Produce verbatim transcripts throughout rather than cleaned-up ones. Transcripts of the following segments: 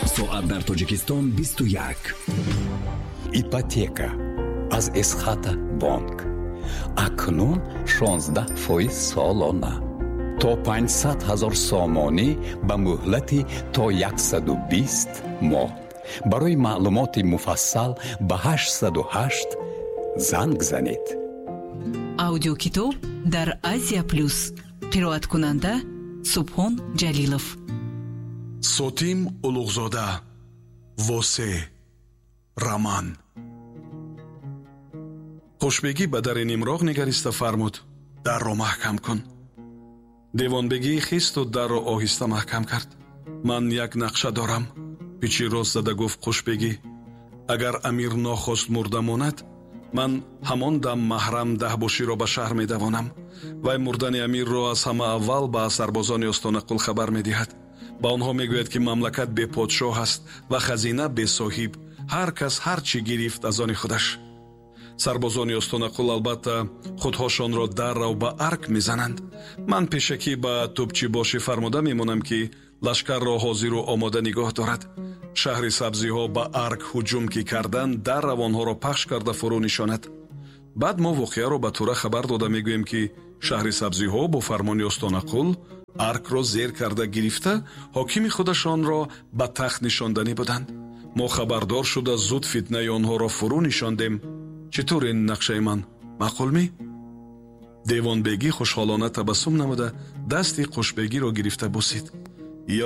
Соат дар Тоҷикистон бисту як. Ипотека аз Эсхата бонк. Акнун шонздаҳ фоиз солона. То панҷсад ҳазор сомонӣ ба муҳлати то яксаду бист моҳ. Барои маълумоти муфассал ба ҳаштсаду ҳашт занг занед. Аудиокитоб дар Азия Плюс. Қироаткунанда Субҳон Ҷалилов. Сотим Улуғзода. Восе. Роман. Хушбегӣ ба дари нимроғ нигариста фармуд: дарро маҳкам кун. Девонбегӣ хисту дарро оҳиста маҳкам кард. Ман як нақша дорам, пичи рост зада гуфт Хушбегӣ. Агар амир нохост мурда монад, ман ҳамон дам маҳрам даҳбоширо ба шаҳр медавонам. Вай мурдани амирро аз ҳама аввал ба сарбозони Остонақул хабар медиҳад. Ба онҳо мегӯяд, ки мамлакат беподшоҳ аст ва хазина бесоҳиб. Ҳар кас ҳар чӣ гирифт аз они худаш. Сарбозони Остонақул албатта худҳошонро даррав ба арк мезананд. Ман пешакӣ ба тӯбчибошӣ фармуда мемонам, ки лашкарро ҳозиру омода нигоҳ дорад. Шаҳри сабзиҳо ба арк ҳуҷум ки кардан, даррав онҳоро пахш карда фурӯ нишонад. Баъд мо воқеаро ба Тура хабар дода мегӯем, ки шаҳри сабзиҳо бо фармони Остонақул аркро зер карда гирифта, ҳокими худашонро ба тахт нишонданӣ буданд. Мо хабардор шуда зуд фитнаи онҳоро фурӯ нишондем. Чӣ тур ин нақшаи ман? Маъқул мӣ? Девонбегӣ хушҳолона табассум намуда дасти Қушбегиро гирифта бусид.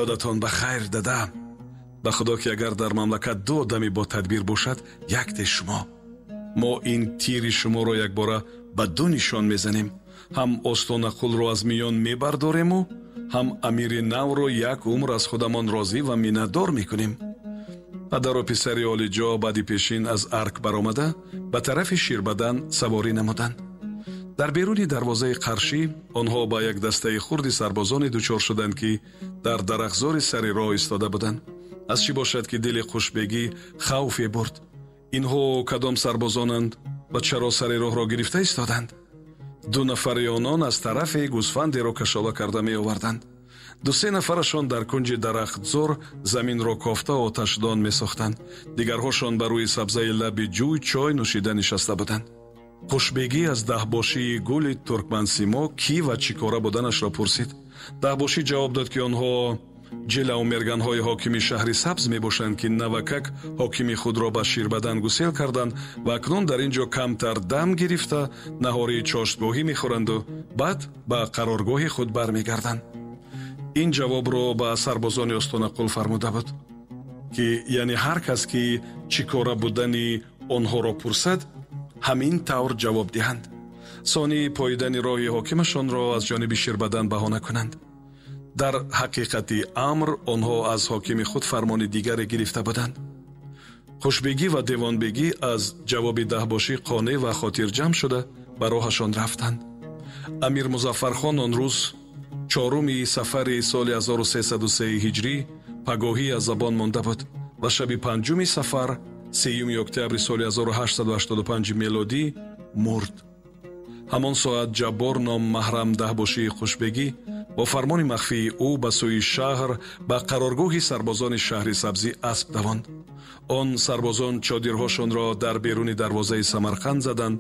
Ёдатон ба хайр, дада. Ба худо ки агар дар мамлакат ду одами бо тадбир бошад, якте шумо. Мо ин тири шуморо якбора ба ду нишон мезанем. Ҳам Остонақулро аз миён мебардорему, ҳам амири навро як умр аз худамон розӣ ва миннатдор мекунем. Падару писари олиҷо баъди пешин аз арк баромада ба тарафи Ширбадан саворӣ намуданд. Дар беруни дарвозаи қаршӣ онҳо ба як дастаи хурди сарбозоне дучор шуданд, ки дар дарахтзори сари роҳ истода буданд. Аз чӣ бошад, ки дили Хушбегӣ хавфе бурд? Инҳо кадом сарбозонанд ва чаро сари роҳро гирифта истоданд? Ду нафари онон аз тарафе гӯсфандеро кашола карда меоварданд. Ду-се нафарашон дар кунҷи дарахтзор заминро кофта оташдон месохтанд. Дигарҳошон ба рӯи сабзаи лаби ҷӯй чой нӯшида нишаста буданд. Хушбегӣ аз даҳбошии гули туркмансимо кӣ ва чӣ кора буданашро пурсид. Даҳбошӣ ҷавоб дод, ки онҳо ҷилавмерганҳои ҳокими шаҳри сабз мебошанд, ки навакак ҳокими худро ба Ширбадан гусел карданд ва акнун дар ин ҷо камтар дам гирифта наҳории чоштгоҳӣ мехӯранду баъд ба қароргоҳи худ бармегарданд. Ин ҷавобро ба сарбозони Остонақул фармуда буд, ки яъне ҳар кас ки чӣ кора будани онҳоро пурсад, ҳамин тавр ҷавоб диҳанд. Сонӣ поидани роҳи ҳокимашонро аз ҷониби Ширбадан баҳона кунанд. Дар ҳақиқати амр онҳо аз ҳокими худ фармони дигаре гирифта буданд. Хушбегӣ ва девонбегӣ аз ҷавоби даҳбошӣ қонеъ ва хотирҷамъ шуда ба роҳашон рафтанд. Амир Музаффархон он рӯз чоруми сафари соли ҳазору сесаду се ҳиҷрӣ пагоҳӣ аз забон монда буд ва шаби панҷуми сафар сеюми октябри соли ҳазору ҳаштсаду ҳаштоду панҷ мелодӣ мурд. Ҳамон соат Ҷаббор ном маҳрам даҳбошии Хушбегӣ бо фармони махфии ӯ ба сӯи шаҳр ба қароргоҳи сарбозони шаҳри сабзӣ асп давонд. Он сарбозон чодирҳошонро дар беруни дарвозаи Самарқанд заданд.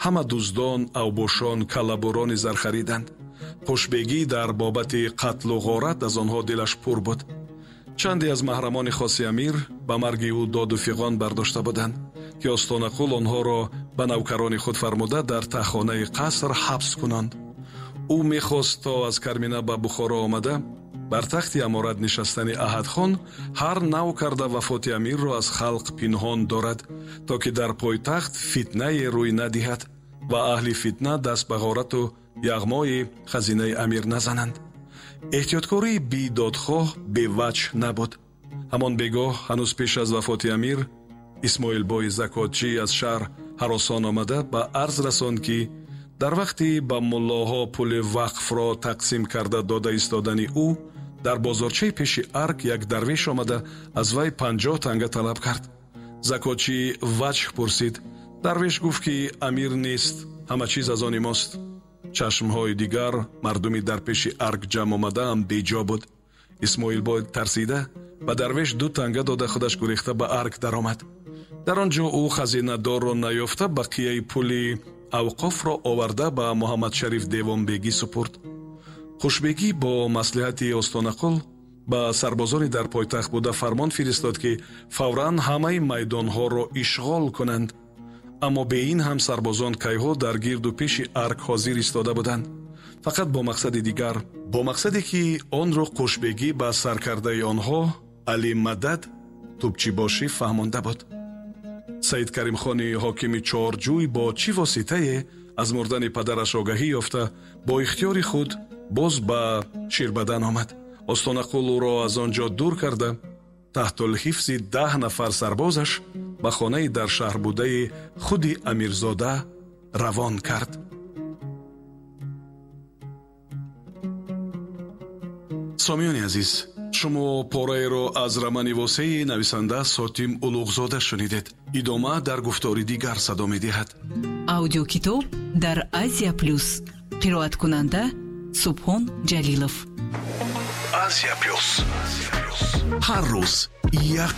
Ҳама дуздон, авбошон, каллабурони зархариданд. Хушбегӣ дар бобати қатлу ғорат аз онҳо дилаш пур буд. Чанде аз маҳрамони хоси амир ба марги ӯ доду фиғон бардошта буданд, ки Остонақул онҳоро ба навкарони худ фармуда дар тахонаи қаср ҳабс кунанд. Ӯ мехост то аз Кармина ба Бухоро омада бар тахти аморат нишастани Аҳадхон ҳар нав карда вафоти амирро аз халқ пинҳон дорад, то ки дар пойтахт фитнае рӯй надиҳад ва аҳли фитна даст ба ғорату яғмои хазинаи амир назананд. Эҳтиёткории бедодхоҳ беваҷҳ набуд. Ҳамон бегоҳ ҳанӯз пеш аз вафоти амир Исмоилбои закотчӣ аз шаҳр ҳаросон омада ба арз расонд, ки дар вақти ба муллоҳо пули вақфро тақсим карда дода истодани ӯ дар бозорчаи пеши арк як дарвеш омада аз вай панҷоҳ танга талаб кард. Закотчӣ ваҷҳ пурсид. Дарвеш гуфт, ки амир нест, ҳама чиз аз они мост. Чашмҳои дигар мардуми дар пеши арк ҷамъ омадаам беҷо буд. Исмоилбой тарсида Ба дарвеш ду танга дода, худаш гурехта ба арг даромад. Дар он ҷо ӯ хазинадорро наёфта, бақияи пули авқофро оварда ба Муҳаммадшариф Девонбегӣ супурд. Хушбегӣ бо маслиҳати Остонақул ба сарбозони дар пойтахт буда фармон фиристод, ки фавран ҳамаи майдонҳоро ишғол кунанд. Аммо бе ин ҳам сарбозон кайҳо дар гирду пеши арг ҳозир истода буданд, фақат бо мақсади дигар, бо мақсаде ки онро Қушбегӣ ба саркардаи онҳо Алимадад Тӯбчибошӣ фаҳмонда буд. Саид Каримхони ҳокими Чорҷӯй бо чӣ воситае аз мурдани падараш огаҳӣ ёфта, бо ихтиёри худ боз ба Ширбадан омад. Остонақул ӯро аз он ҷо дур карда, таҳтулҳифзи даҳ нафар сарбозаш ба хонаи дар шаҳр будаи худи Амирзода равон кард. Сомиёни азиз, шумо пораеро аз романи восеи нависанда Сотим Улуғзода шунидед. Идома дар гуфтори дигар садо медиҳад. Аудиокитоб дар Азия Плюс. Қироаткунанда Субҳон Ҷалилов. Азия Плюс. Ҳар рӯз як